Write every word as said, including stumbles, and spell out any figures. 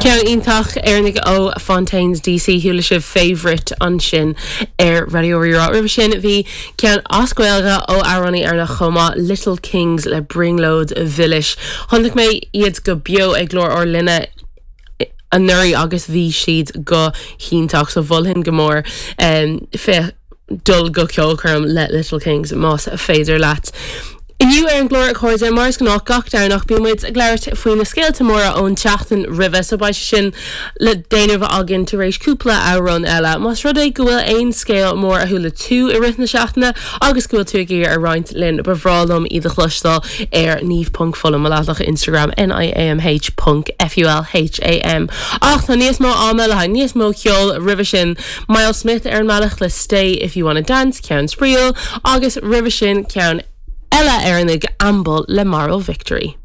Ceann iontach Éireannach ó Fontaines DC chuala sibh Favourite ansin ar Raidió Rí-Rá. Roimhe sin bhí ceann as Gaeilge ó amhránaí Éireannach chomh maith Little Kings le Brionglóid Mhilis. Chonaic mé iad go beo ag Glór ár Linne anuraidh agus bhí siad go hiontach so mholfainn go mór um, fe dul go ceolchoirm le Little Kings más féidir leat. Inniu ar an gclár a chairde mar is gnáth gach Domhnach bíonn muid ag labhairt faoi na scéalta móra ón tseachtain roimhe so beidh sin le déanamh againn tar éis cúpla amhrán eile. Más rud é go bhfuil aon scéal mór a chuala tú i rith na seachtaine agus go bhfuil tú ag iarraidh a roinnt linn ba bhreá liom iad a chloisteáil ar niamh.fulham mo leathanach Instagram NIAMH ponc FULHAM. Ach tá níos mó ama le haghaidh níos mó ceol roimhe sin Myles Smith ar an mbealach le stay if you wanna dance ceann spraoiúil agus roimhe sin ceann eile Éireannach Amble le Moral Victory.